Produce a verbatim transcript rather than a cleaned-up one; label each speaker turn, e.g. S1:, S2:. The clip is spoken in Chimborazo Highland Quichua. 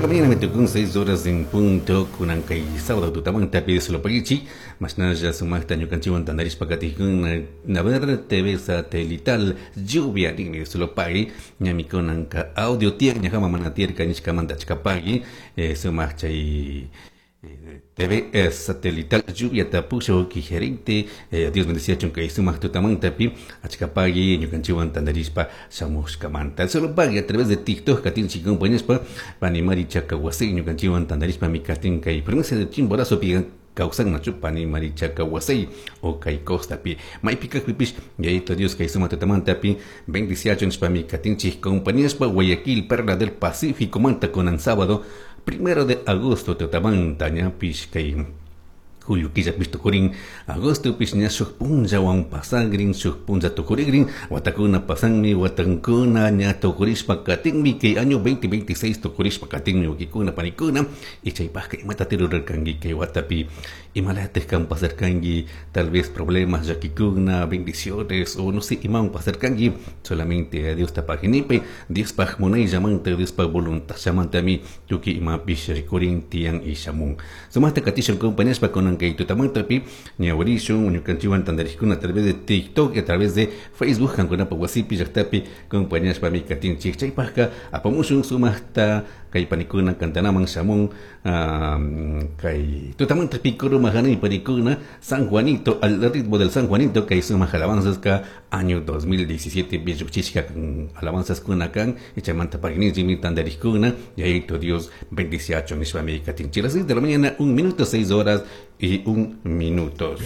S1: Seis de la mañana me tocó seis horas en punto kunan kay sábado tutamanta solo pagichi mashnalla sumaqta ñukanchikwan tantarishpa katikuna Naver T V satelital lluvia ninmi solo pagui ñami kunanka audio tiyak ñajama mana tiyarka nishkamanta achka pagui eh, sumaq chay T V satelital lluvia tapusho ki gerente eh, Dios bendeciachun kay sumaq tutamantapi achka pagui ñukanchikwan tantarishpa shamushkamanta solo pagui a través de TikTok katinchik compañashpa pani Mari Chakawasay ñukanchikwan tantarishpa mi katin kay provincia de Chimborazo pi kawsannachu pani Mari Chakawasay o kay costapi maypi kaqpipish Yayito Dios kay sumaq tutamantapi bendiciachun nishpami katinchik compañashpa Guayaquil, Perla del Pacífico manta kunan sábado primero de agosto tutamanta ñapish kay julio killapish tukurin agosto pish ña shuk punllawan pasagrin shuk punlla tukurigrin watakuna pasanmi watankuna ña tukurishpa katinmi kay año dos mil veintiséis tukurishpa katinmi wawkikuna panikuna y chaypajka imata rurarkanki kay watapi imalatik kan pasarkanki tal vez problemas llakikuna, bendiciones o no sé imawan pasarkanki. Solamente a Dios tapaginipi Diospaj munayllamanta Diospaj voluntadllamantami tukuy imapish rikurin tiyan y shamun sumaqta katishun compañashpa kunan kay tutamantapi ñawirishun ñukanchikwan tantarishkuna a través de TikTok y a través de Facebook kankunapa wasipi llaqtapi compañashpami katinchik chaypajka apamushun sumaqta kay panikuna kantanaman shamun kay tutamantapi coro majanay panikuna San Juanito al ritmo del San Juanito kay sumaq alabanzas ka año dos mil diecisiete lluqchishka alabanzas kuna kan y chaymanta pagninchikmi tantarishkuna Yayito Dios bendiciachun nishpami katinchik. Las seis de la mañana un minuto, seis horas y un minutos.